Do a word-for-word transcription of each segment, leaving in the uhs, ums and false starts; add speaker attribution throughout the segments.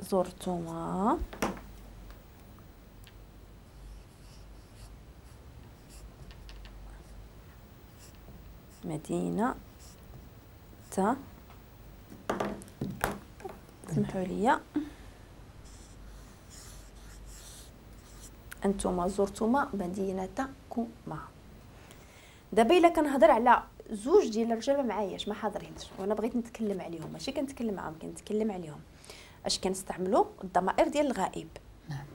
Speaker 1: زرتما مدينة تا، سمحوا لي، انتما زرتما مدينتكما. دابا الا كنهضر على زوج ديال الرجال ما معاياش، ما حاضرينش، وانا بغيت نتكلم عليهم، ماشي كنتكلم معاهم، كنتكلم عليهم. اش كنستعملوا؟ الضمائر ديال الغائب.
Speaker 2: نعم.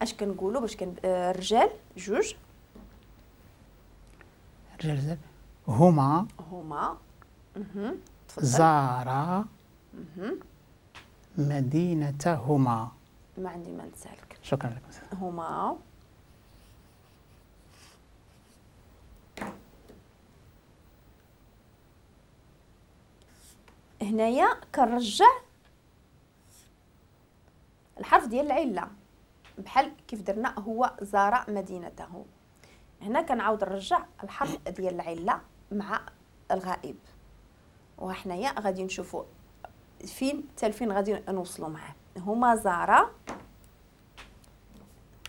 Speaker 1: اش كنقولوا باش كن الرجال جوج؟
Speaker 2: الرجال هما
Speaker 1: هما اها
Speaker 2: زارا مدينتهما.
Speaker 1: ما عندي ما نسالك.
Speaker 2: شكرا لكم.
Speaker 1: هما هنايا كنرجع الحرف ديال العلة بحال كيف درنا هو زار مدينته، هنا كنعاود نرجع الحرف ديال العلة مع الغائب، وحنايا غادي نشوفوا فين حتى لفين غادي نوصلوا معاه. هما زارا،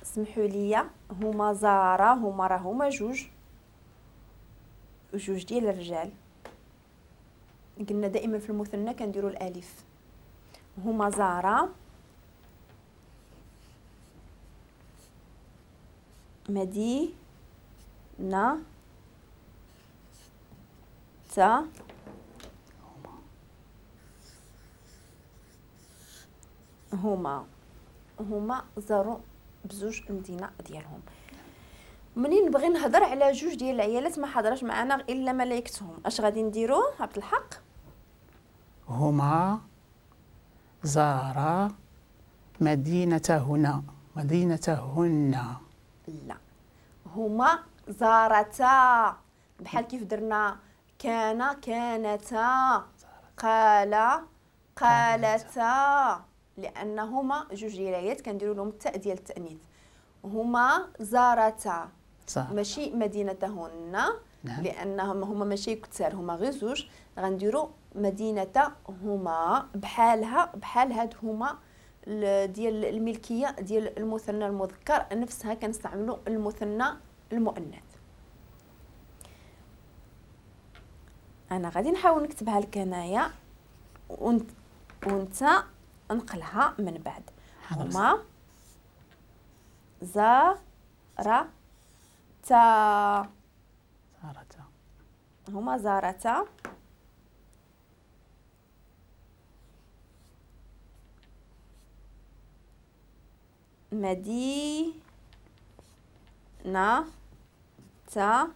Speaker 1: سمحوا لي، هما زارا، هما راه هما جوج، جوج ديال الرجال. قلنا دائما في المثنى كنديروا الالف. هما زارا مدينة تا هما هما زاروا بزوج المدينة ديالهم. منين نبغي نهضر على جوج ديال العيالات ما حضراش معنا الا ملايكتهم، اش غادي نديرو عبد الحق؟
Speaker 2: هما زارا مدينتهن مدينتهن.
Speaker 1: لا، هما زارتا، بحال كيف درنا كان كانتا، قال قالتا، لانهما جوج ديال العيالات كنديروا لهم التاء ديال التانيث. هما زارتا ماشي مدينتهن. نعم. لانهم هما ماشي كثار، هما غير زوج، غنديروا مدينتهما بحالها بحال هاد هما ديال الملكية ديال المثنى المذكر، نفسها كنستعملوا المثنى المؤنث. انا غادي نحاول نكتبها لك هنايا وانت وانت نقلها من بعد. هما زارتا
Speaker 2: زارتا
Speaker 1: هما زارتا مدينة تا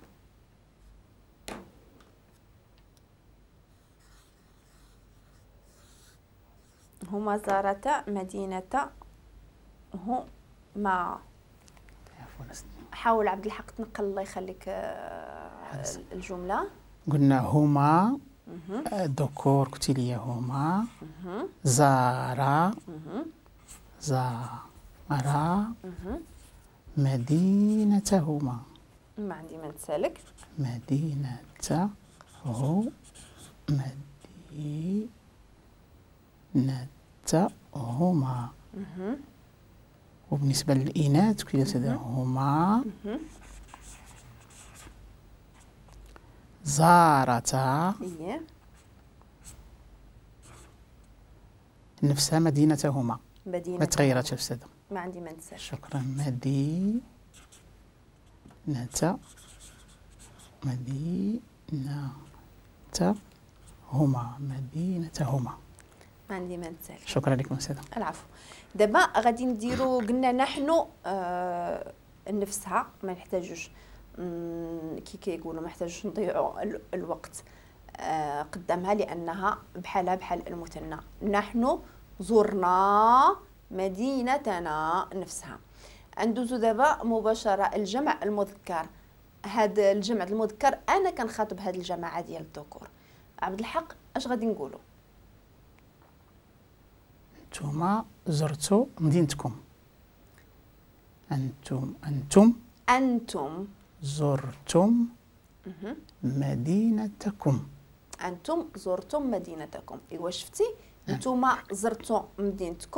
Speaker 1: هما زارتا مدينة هما. حاول عبد الحق تنقل الله يخليك الجملة.
Speaker 2: قلنا هما ذكور، قلتي لي هما زارا زارا مدينتهما.
Speaker 1: ما عندي ما نسالك.
Speaker 2: مدينته مدينتهما. وبالنسبة للإناث كذا هما زارتا نفسها مدينتهما،
Speaker 1: مدينة
Speaker 2: ما تغيرتش أستاذة.
Speaker 1: ما عندي ما نسالك.
Speaker 2: شكرا. مدينة مدينتهما مدينتهما.
Speaker 1: ما عندي ما نسالك.
Speaker 2: شكرا لكم أستاذة.
Speaker 1: العفو. دابا غادي نديرو، قلنا نحن آه نفسها ما نحتاجوش كي كيقولوا ما نحتاجوش نضيعوا الوقت آه قدامها لانها بحالها بحال المثنى. نحن زرنا مدينتنا نفسها. ندوزو دابا مباشرة الجمع المذكر. هذا الجمع المذكر انا كنخاطب هاد الجماعة ديال الذكور. عبد الحق اش غادي نقولوا؟
Speaker 2: انتما زرتوا مدينتكم. انتم انتم
Speaker 1: انتم
Speaker 2: زرتم مدينتكم.
Speaker 1: انتم زرتم مدينتكم. ايوا شفتي، انتم زرتوا مدينتكم.